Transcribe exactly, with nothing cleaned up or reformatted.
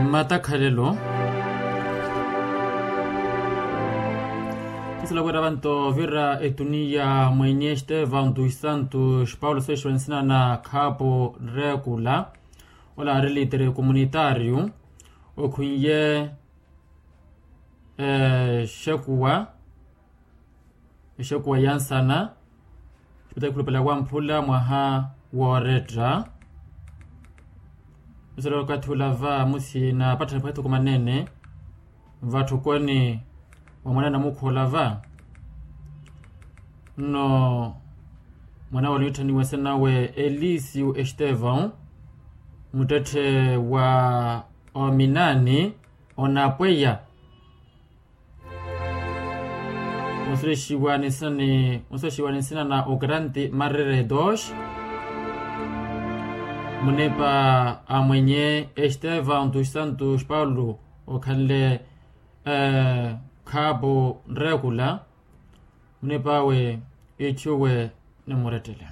Mmatakhalelo. Khusuwela wira vanto vira etuniya mwenye estevão dos santos paulo swexiwa nsina na khapo rekula, ola aari litere comunitario okhwiye exekuwa exekuwa ya nsana. Xipita ekhulupela wamphula mwaha wooretta. Musala okathi ula va musina patthani pwethuku manene vatthukweni wa mwana namukhu ola va. Nno mwana wala onitthaniwa nsina nawe elisio estevão, muttetthe wa ominani onapweya. Onsulexiwa ni nsina na okarante marere dos. Munipa a mwenye estevão dos santos paulo okhanle khapo nrekula. Munipa awe itthuwe ni murettele.